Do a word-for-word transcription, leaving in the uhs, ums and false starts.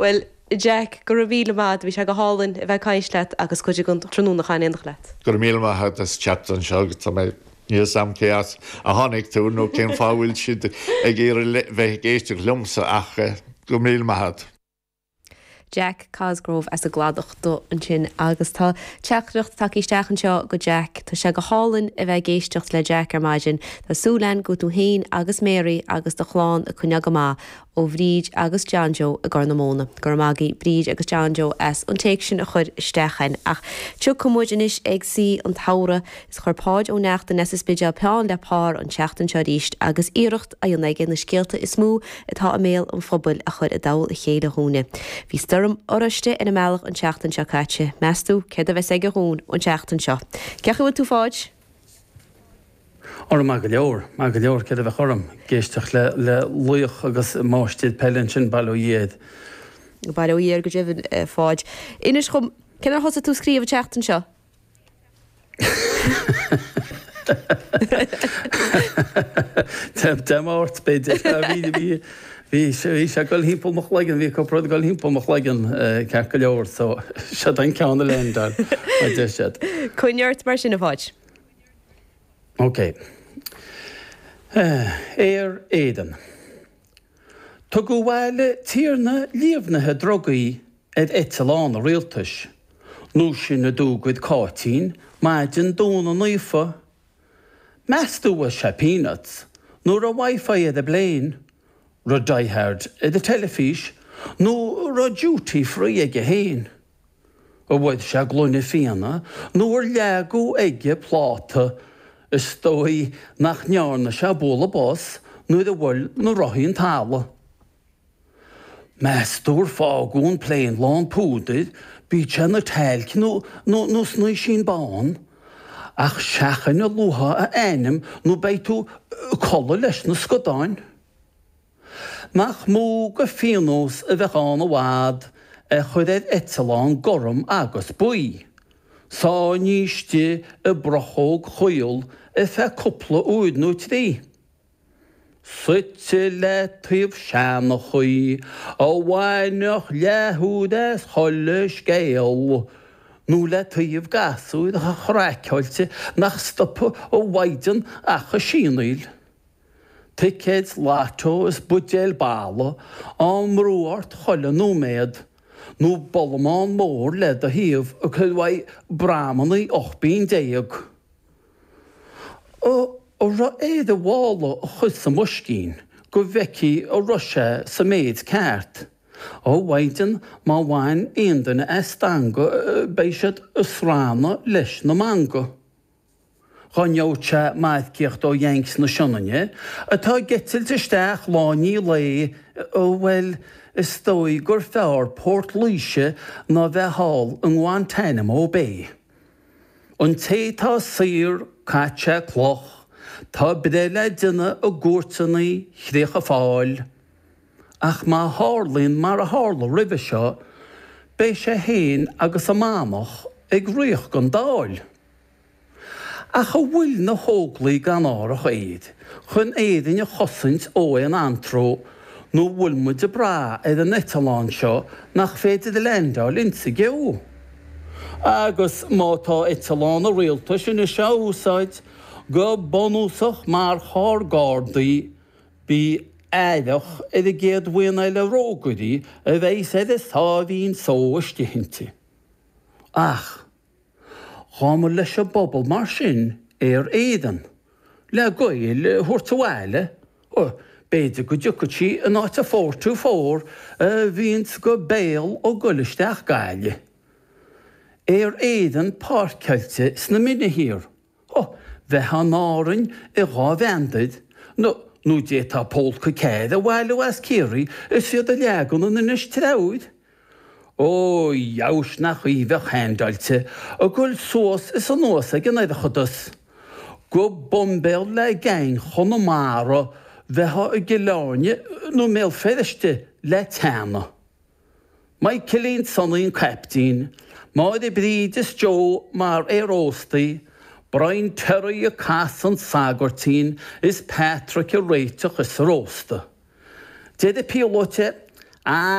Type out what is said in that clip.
Well, Jack go raibh míle maith, bhí sé go hálainn a bheith ag caint leat agus cuid den tráthnóna in éineacht leat. Go raibh míle maith as teacht anseo tá mé níl sam cé as a tháinig tú nó cén fáth bhfuil siad ag iarraidh bheith ag éisteacht liomsa ach eh, go míle maith. Jack Cosgrove as an gCladach do ansin agus tá teachtaireacht tagtha isteach anseo go Jack Tá sé go hálainn a bheith ag éisteacht le Jack ar maidin Tá súil agam go bhfuil tú féin agus Mary agus do chlann ag coinneáil go maith ó Bhríd agus John Joe i gCorr na Móna. Gur magadh Bríd agus John Joe as an téacs sin a chur isteach chugainn. Ach tiocfaidh muid anois ag saoi an tsamhraidh is chuir Páid Ó Neachtain as an Spidéal peann le pár an tseachtain seo arís agus iarracht á dhéanamh aige na scéalta is mó atá i mbéal an phobail a chur i dtoll a chéile dúinne. Bhí stoirm oráiste ina mbealach an tseachtain seo caite, Meastú céard a bheas aige dúinn an tseachtain seo. Cecha bhfuil tú fáid? Orm go leor má go leor ce a bheith orm ag éisteacht le le laoch agus máistir peile sin bail ó Dhia air. Bail ó Dhia air go deimhin fáid. Inis dom cén ar thosaigh tú ag scríobh an tseachtain seo? Dé Máirt b'fhéidir bhí bhí sé ag dul thimpeall mo chloigeann, bhí cúpla rud ag dul thimpeall mo chloigeann ceart go leor so seo an ceann a leaindeáil a deir siad. Coinnigh ort mar sin a Pháid. Ok. Aer Éireann. Tugadh abhaile tiarna líomhnaithe drugaí ar eitleán an rialtais, nó sin a d'fhógair Cáitín maidin Domhnaigh Naofa. Meas tú an raibh sé peanuts nó raibh WiFi ar an bplane, raibh Die Hard ar an teilifís nó raibh duty free aige féin? An bhfuair sé gloine fíona nó ar leagadh aige pláta, is dóigh nach ndearna sé bualadh bos nuair a bhuail na rothaí an talamh. Meas tú ar fágadh an plane lán púdair, bíodh sé ina talc nó nó nó snaoisín bán, ach seachain a luafá a ainm nó beidh tú ag codladh leis na scadáin. Nach mó de phionós a bheadh ann i bhfad a chur ar eitleán gorm agus buí, sáinnithe istigh i bprochóg chaol ar feadh cúpla uair nó trí. Suite le taobh seanchaí a bhainfeadh leathuair as chuile scéal, nó le taobh gasúir chraiceáilte nach stopfadh a mhaighdean ach ag sianaíl. Ticéid lotto is buidéil balla á mbrú ort chuile nóiméad, nó bollamán mór le do thaobh ag cur uaidh bramannaí ocht bpingin déag. An raibh air a mhála a chur sa mboiscín go bhfeicfí an raibh sé sa méid ceart? Ó mhaighdean, má bhain aon duine as stangadh beidh siad ag srannadh leis na meangadh. Dhá ngeobhadh sé marcaíocht ó Yanks na Sionainne atá ag eitilt isteach lá i ndiaidh lae, bhuel, is dóigh gur fearr Port Laoise ná bheith thall i nGuantanamo Bay. An té tá saor, caite sé cloch, tá breith le déanamh i gcúirteanna Chríocha Fáil. Ach má tharlaíonn mar a tharla roimhe seo, beidh sé féin agus a manach ag ritheacht don Dáil. Ach an bhfuil na hÓglaigh gan árthach aeir chun Éirinn a chosaint ó aon antró nó an bhfuil muid ag brath ar an eitleán seo nach féidir a leaindeáil insa gceo? Agus má tá eitleán an rialtais anois á úsáid go bunúsach mar charr gardaí, bí aireach ar an gcéad bhuíon eile rógairí a bheas ar a sáimhín só istigh inti. Ach. Dhá mba leis an bpobal mar sin Aer Éireann, le Gaeil a thabhairt abhaile, b'fhéidir go dtiocfadh sí in áit a four two four a bhíonns go béal ag goil isteach Gaillimh. Aer Éireann páirceáilte sna Mine Thiar, bheifeá in Árainn i dhá mheandair, nó d'fhéadfá pólca cairr a bhailiú as Ciarraí is iad a leagan in Inis Treabhair. Ó dheabhais nach í bheadh haindeáilte ag goil suas is anuas ag an oireachtas. Go boimbéal le geaing Chonamara bheifeá i gCill Airne nó i mBéal Feirste le teannadh. Michaelín Sonaí an caiptín, Máire Bríd is Joe mar aeróstaí, Brian Terry ag casadh an tsagairtín is Patrick ag réiteach is ag róstadh. Deir an píolóta, Ach!